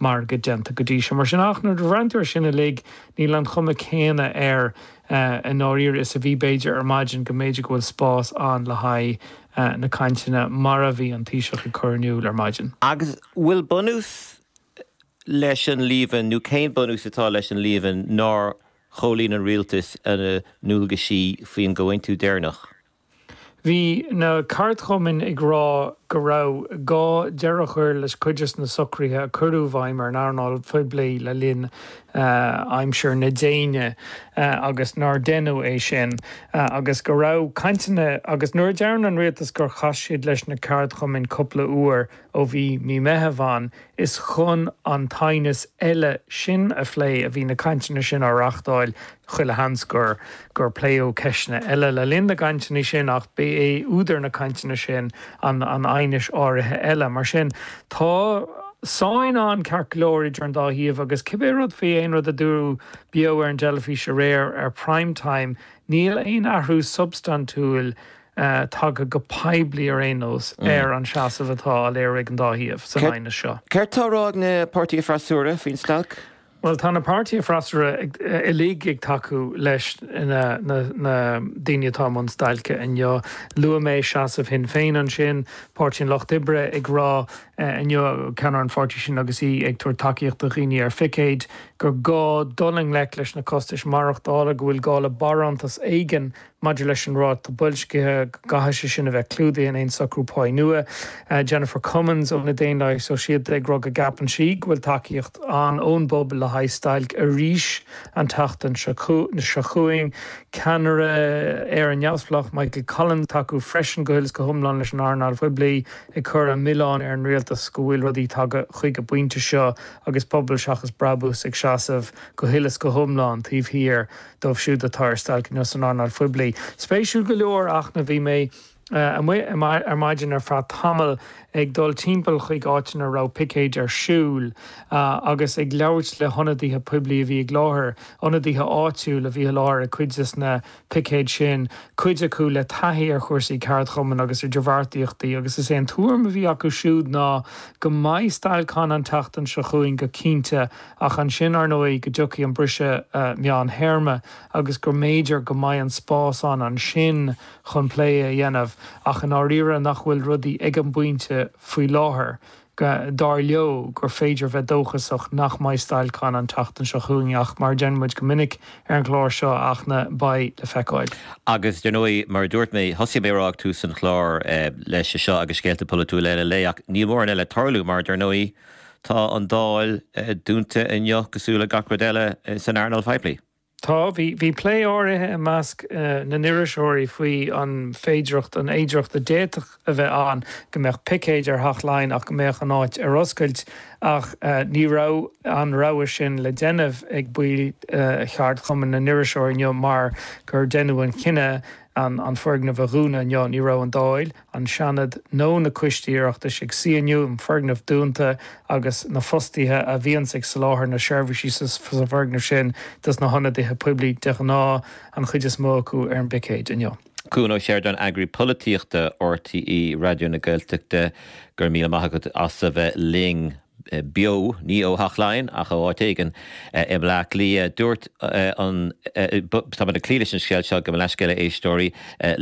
margaidh déanta go dtí seo. Mar sin, ach nuair a bhreathnaíonn tú air sin uilig, níl an chuma céanna air i ndáiríre is a bhí b'fhéidir ar maidin go mb'fhéidir go bhfuil spás ann le haghaidh na cainteanna mar a bhí an Taoiseach ag cur in iúl ar maidin. Agus bhfuil bunús leis an líomhain, nó cén bunús atá leis an líomhain nár chomhlíon an rialtas a ndualgaisí faoin gcomhaontú deireanach? Bhí na ceardchumainn ag rá go raibh gá deireadh a chur le cuid de na socruithe a cuireadh i bhfeidhm ar an earnáil phoiblí le linn aimsir na déine agus nár deineadh é sin agus go raibh cainteanna agus nuair a deireann an rialtas gur chas siad leis na ceardchumainn cúpla uair ó bhí mí Meitheamh ann Is chun an t-aighneas eile sin a phlé a bhí na cainteanna sin á reáchtáil. Chuile sheans gur gur pléadh ceisteanna eile le linn na gcainteanna sin ach ba é údar na cainteanna sin an an aighneas áirithe eile. Mar sin, tá sáinn ann ceart go leor idir an dá thaobh agus cibé rud faoi aon rud a dúradh beo ar an dteilifís aréir ar Prime Time, níl aon athrú substaintiúil tagtha go poiblí ar aon nós ar an seasamh atá á léiriú ag an dá thaobh san aighneas seo. Céard tá á rá ag na páirtithe freasúra faoin stailc? Bhuel, tá na páirtithe freasúra uilig ag tacú leis na daoine atá i mbun stailce inniu. Luaigh mé seasamh Shinn Féin ansin, Páirtí an Lucht Oibre ag rá inniu, ceannaire an pháirtí sin agus í ag tabhairt tacaíocht do dhaoine ar phicéid, gur gá dul i ngleic leis na costais maireachtála, go bhfuil gá le barántas éigin Maidir leis an ráta boilscithe, go gcaithfidh sé sin a bheith clúdaithe in aon socrú páí nua. Jennifer Cummins ó na Daonlathaithe Sóisialta ag rá go gceapann sí go bhfuil tacaíocht ann ón bpobal le haghaidh stailc arís an tseachtain seo chugainn. Ceannaire Éire Neamhspleách Michael Collins ag tacú freisin go huile is go hiomlán leis an earnáil phoiblí, ag cur an milleán ar an rialtas go bhfuil rudaí tagtha chuig an bpointe seo agus Pobal Seachas Brabús ag seasamh go huile is go hiomlán taobh thiar dóibh siúd atá ar stailc inniu san earnáil phoiblí. Spéisiúil go leor ach na bhí mé amuigh ar maidin ar feadh tamaill ag dul timpeall chuig áiteanna a raibh picéid ar siúl agus ag labhairt le hionadaithe poiblí a bhí i láthair, ionadaithe áitiúil a bhí i láthair ag cuid des na picéid sin, cuid acu le taithí ar chúrsaí ceardchumainn agus idirbheartaíochtaí agus is é an tuairim a bhí acu siúd ná go mbeidh stailc ann an tseachtain seo chugainn go cinnte Ach ansin, ar ndóigh, go dtiocfaidh an briseadh meántéarma agus go mb'fhéidir go mbeidh an spás ann ansin chun plé a dhéanamh ach i ndáiríre nach bhfuil rudaí ag an bpointe faoi láthair, dar leo, gur féidir bheith dóchasach nach mbeidh stailc ann an tseachtain seo chugainn ach mar a deireann muid go minic ar an gclár seo, a Fhachtna, beidh le feiceáil. Agus, dar ndóigh, mar a dúirt mé, thosaigh mé a rá ag tús an chláir leis seo agus scéalta polaitiúla eile an lae ach níl mórán eile ag tarlú mar, dar ndóigh, Tá an Dáil dúnta inniu cosúil le gach rud eile san earnáil phoiblí. Tá. Bhí bhí plé áirithe i measc na n-iriseoirí faoi an féidireacht, an fhéidireacht a d'fhéadfadh a bheith ann go mbeadh picéid ar Theach Laighean ach go mbeadh an áit ar oscailt ach ní raibh an rogha sin le déanamh ag baill cheardchumann na n-iriseoirí inniu mar gur deineadh an cinneadh an foirgneamh a dhúnadh inniu. Ní raibh an Dáil. an Seanad nó na coistí Oireachtais ag suí inniu, an foirgneamh dúnta agus na fostaithe a bhíonns ag soláthar na seirbhísí sa bhfoirgneamh sin dos na hionadaithe poiblí de ghnáth, an chuid is mó acu ar an bpicéad inniu. Cuan Ó Seireadáin, Eagraí Polaitíochta RTÉ Raidió na Gaeltachta, go raibh míle maith agat as a bheith linn. beo, ní ó Theach Laighean ach ó áit éigin i mBleá Cliath. Dúirt an, tá muid ag cloí leis an scéal seo, gabh mo leithscéal a éisteoirí,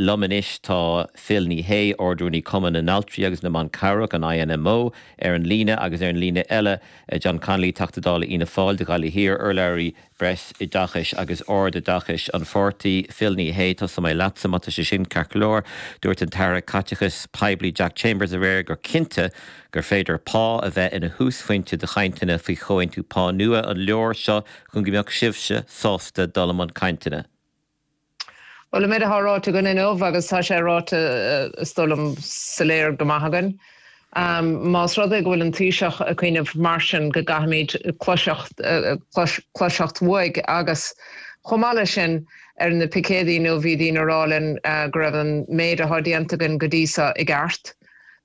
liom anois tá Phil Ní Sheaghdha, Ard-Rúnaí Cumann na nAltraí agus na mBan Cabhrach, an INMO, ar an líne agus ar an líne eile John Connolly, Teachta Dála Fhianna Fáil do Ghaillimh Thiar, urlabhraí Breisoideachais agus Ardoideachais an pháirtí, Phil Ní Sheaghdha, tosóidh mé leatsa má tá sé sin ceart go leor. Dúirt an tAire Caiteachais Poiblí Jack Chambers aréir gur cinnte gur féidir pá a bheith ina thúsphointe do chainteanna faoi chomhaontú pá nua. An leor seo chun go mbeadh sibhse sásta dul i mbun cainteanna? Bhuel, an méid atá ráite againn inniu, agus tá sé ráite, is dóigh liom, soiléir go maith againn, más rud é go bhfuil an Taoiseach ag cuimhneamh mar sin go gcaithfimid cloiseacht, cloiseacht uaidh agus chomh maith leis sin, ar na picéadaí inniu bhí daoine ag rá linn go raibh an méid atá déanta againn go dtí seo i gceart.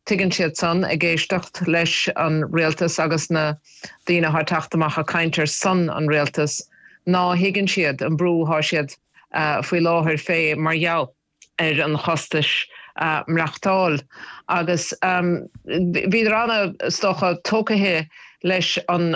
Tuigeann siad san, ag éisteacht leis an rialtas agus na daoine atá ag teacht amach ag caint ar son an rialtais, ná thuigeann siad an brú atá siad faoi láthair fé mar gheall ar an chostais maireachtáil. Agus bhíodar ana, is dócha, tógtha leis an.